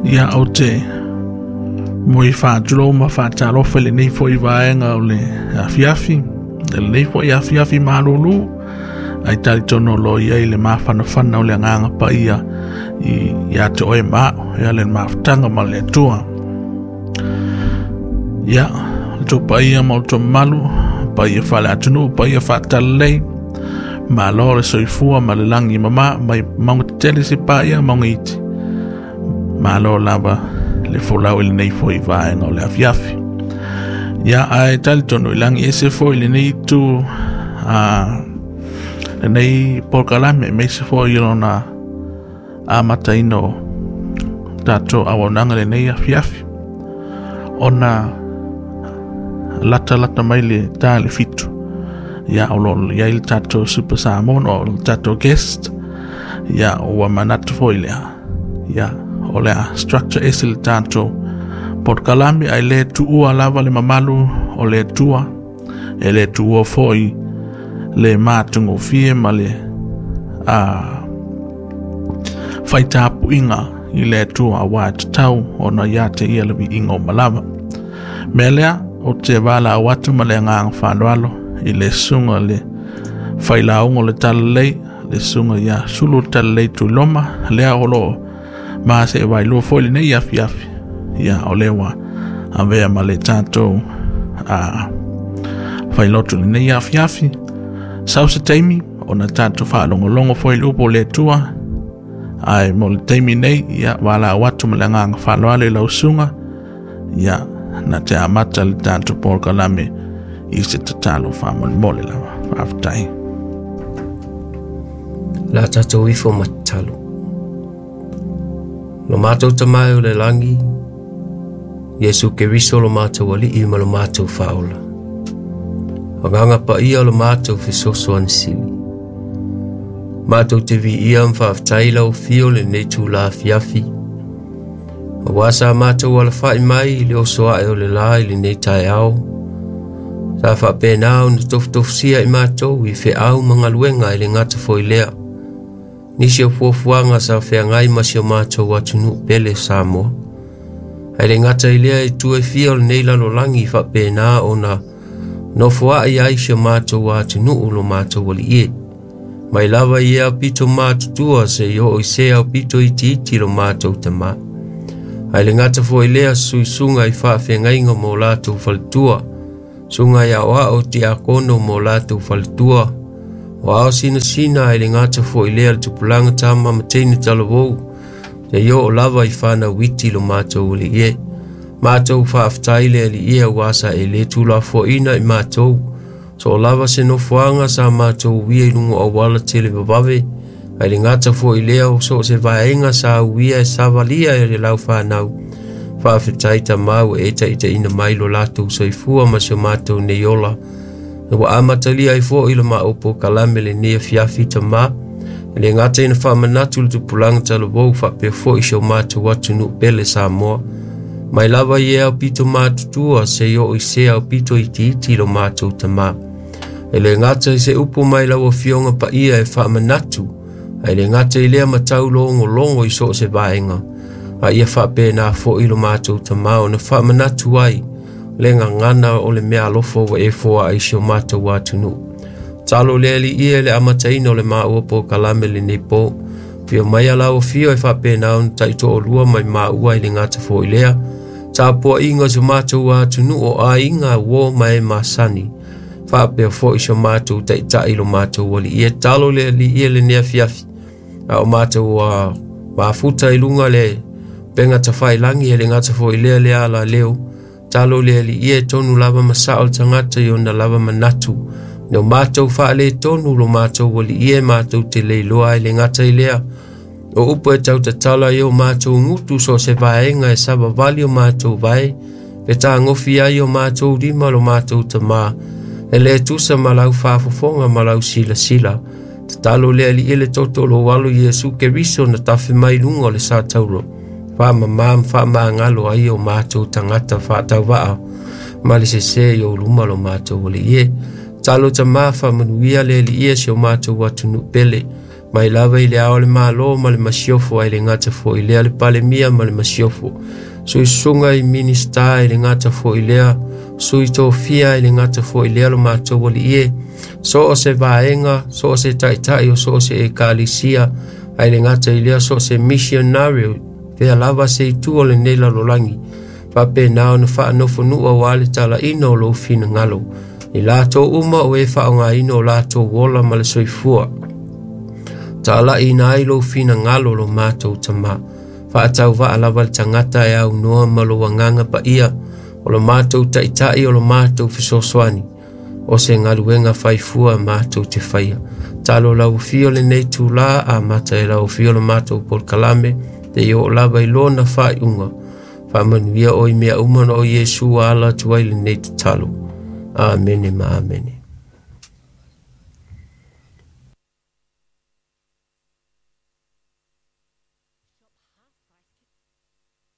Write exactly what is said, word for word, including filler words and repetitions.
Ia o te moi whaatulou ma whaatalofa le nei foi vaenga o le afiafi, le nei foi afiafi malulu, ai talitono lo ia i le mafanafana o le agaga paia i ia te oe ma ia le mafutaga ma le Atua. Ia le tou paia ma o tou mamalu, paia faale-atunuu, paia faatalelei, malo le soifua ma le lagi mama mai mauga tetele se paia mauga iti. Malo lava le folau i lenei foi vaega o le afiafi. Ia ae talitonu i lagi ese foi lenei itu a lenei polokalame aemaise foi i lona amataina o tatou auaunaga lenei afiafi ona latalata mai le ta le fitu. Ia o lo o i ai le tatou Super Samoan o le tatou guest. Ia ua manatu foi lea. Ia o le a structure ese le tatou polokalame ae le tuua lava le mamalu o le Atua, e le tuua foi le matagofie ma le a faitapuiga i le Atua aua e tatau ona ia te ia le viiga o malava. Mea lea o te valaau atu ma le agaga faaaloalo i le susuga le failauga o le talalelei, le susuga ia Sulu le Talalelei Tuiloma, lea o lo o ma se vailua foi lenei afiafi. Ia o lea ua avea ma le tatou a failotu lenei afiafi. Sau se taimi ona tatou faalogologo foi i le upu o le Atua, ae mo le taimi nei, ia valaau atu ma le agaga faaaloalo i lau susuga, ia na te amata le tatou polokalame i se tatalo faamolemole lava. Faafetai. La tatou ifo ma tatalo. Lo matou Tama e o le lagi, Iesu Keriso lo matou Alii ma lo matou Faaola. Agaga paia lo matou fesoasoani sili. Matou te viia ma faafetai lau afio lenei itula afiafi. Aua sa matou alafai mai i le oso ae o le la i lenei taeao. Sa faapena ona tofutofusia i matou i feau ma galuega i le gata foi lea. Nisi o fuafuaga sa feagai ma si o matou atunuu pele Samoa. Ae le gata i lea i itu e fia o lenei lalolagi faapena ona nofoai ai si o matou atunuu lo matou alii e. Mai lava i e aupito matutua seia oo i se aupito itiiti lo matou Tama. Ae le gata foi lea suisuga i faafeagaiga mo latou faletua, suga i aoao tiakono mo latou faletua, o ao sinasina ae le gata foi lea le tupulaga tama ma teine talavou, seia oo lava i fanau iti lo matou alii e. Matou faafetai le alii e aua sa e le tuulafoaina i matou, so o lava se nofoaga sa matou uia i luga o auala televavave, ae le gata foi lea o so o se vaega sa uia e savalia e le laufanau. Faafetai Tama ua e taitaiina mai lo latou soifua ma si o matou nei ola. Ua amatalia ai foi le maou polokalame lenei afiafi Tama. E le gata ina faamanatu le tupulaga talavou faapea foi si o matou atunuu pele Samoa. Mai lava i e aupito matutua seia oo i se aupito itiiti lo matou Tama. E le gata i se upu mai lau afioga paia e faamanatu, ae le gata i lea matau logologo i so o se vaega. A ia faapena foi lo matou Tama ona faamanatu ai le gagana o le mea alofa ua e foaa i si o matou atunuu. Talo le alii e le amataina o le maua polokalame lenei po. Afio mai lau afio e faapena ona taitoalua mai maua i le gata foi lea. Tapuaiga o si o matou atunuu o aiga uo ma e masani. Faapea foi si o matou taitai lo matou alii e. Talo le alii e lenei afiafi. A o matou uh, mafuta i luga le upega tafailagi e le gata foi lea le ala leo. Talo le alii e tonu lava ma sao le tagata i ona lava manatu. No matou faaletonu lo matou alii e matou te leiloa ai le gata i lea. O upu e tautatala i o matou gutu so o se vaega e savavali o matou vae, e tagofi ai o matou lima lo matou Tama, e le tusa ma lau faafofoga ma lau silasila. Tatalo le alii e le toto o lou alo Iesu Keriso na tafe mai luga o le satauro. Faamamā ma faamagalo ai o matou tagata faatauvaa ma le sesē i ou luma lo matou alii e. Talo Tama faamanuia le alii e si o matou atunuu pele. Mai lava i le ao le malo ma le masiofo ai le gata fo'i lea le palemia ma le masiofo. Suisuga i minista i le gata fo'i lea, sui tofia i le gata fo'i lea lo matou alii e. So o se vaega, so o se taitai o so o se ekalisia, ai le gata i lea so o se missionary, fea lava se itu o lenei lalolagi. Faapena ona faanofonua ua le talaina o lou finagalo. I latou uma o e faaaogaina o latou ola ma le soifua. Talaina ai lou finagalo lo matou tamā. Faatauvaa lava le tagata e aunoa ma lou agaga paia, o lo matou taitai o lo matou fesoasoani. O se galuega faifua matou te faia. Talo lau afio lenei tula amata e lau afio lo matou polokalame, te i oo lava i lona faaiuga. Faamanuia oe i mea uma na o Iesu ala atu ai lenei tatalo. Amene ma amene.